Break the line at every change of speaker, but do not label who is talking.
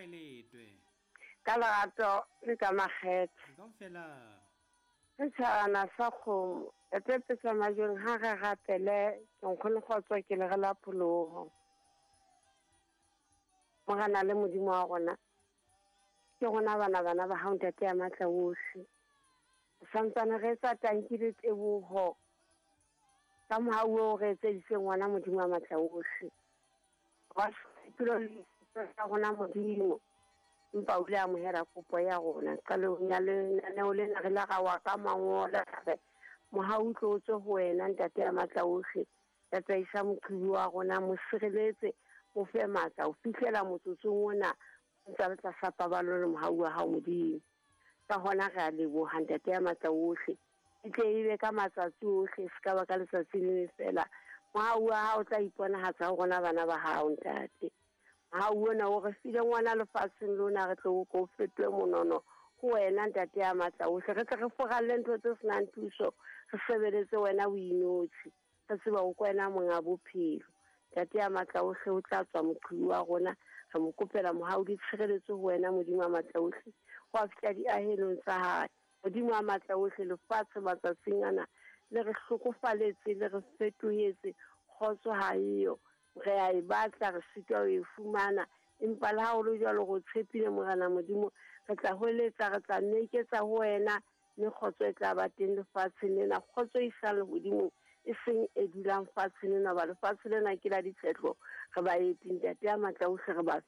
kae letwe?
Ka lerato le ka makgethe.
Kaofela.
Setšhabana sa kgomo, etepetsa majweng ha re rapele, ke nkgone kgotso ke le re la pholoho. Morena le Modimo wa rona, ke rona bana bana ba hao ntate ya matla ohle. Santsane re etsa tanki le teboho ka mohau o re etseditseng ngwana Modimo wa matla ohle. Wa tulo le tsa rona Modimo. Empa o ile a amohela kopo ya rona. Qalong ya lenaneo lena re la ra wa ka mangola re mohau o tlo o tswe ho wena ntate ya matla ohle. Tataisa moqhibi wa rona, mo sireletse, mo fe matla ho fihlela motsotsong ona o ntsa le tlasa paballo le mohau wa hao Modimo. Ka hona re a leboha ntate ya matla ohle. E tle e be ka matsatsi ohle, se ka ba ka letsatsi le le fela. Mohau wa hao o tla iponahatsa ho rona bana ba hao ntate. Mohau ona o re file ngwana lefatsheng lona re tle o ko o fetohe monono ho wena ntate ya matla ohle. Re tle re furalle ntho tse senang thuso, re sebeletse wena o inotshi. Re tseba o kwena monga bophelo. Ntate ya matla ohle o tla tswa moqhibi wa rona. Re mo kopela mohau le tshireletso ho wena Modimo wa matla ohle. Ho a fihla diahelong tsa hae. Modimo wa matla ohle lefatshe matsatsing ana le re hlokofaletse le re fetohetse kgotso ha eyo. Re a e batla re sitwa ho e fumana. Empa le ha ho le jwalo re o tshepile Morena Modimo. Re tla hweletsa re tla meketsa ho wena mme kgotso e tla ba teng lefatsheng lena. Kgotso e isang lehodimong e seng e dulang fatsheng lena, hoba lefatshe lena ke la ditshetlo. Re baeti ntate ya matla ohle re ba.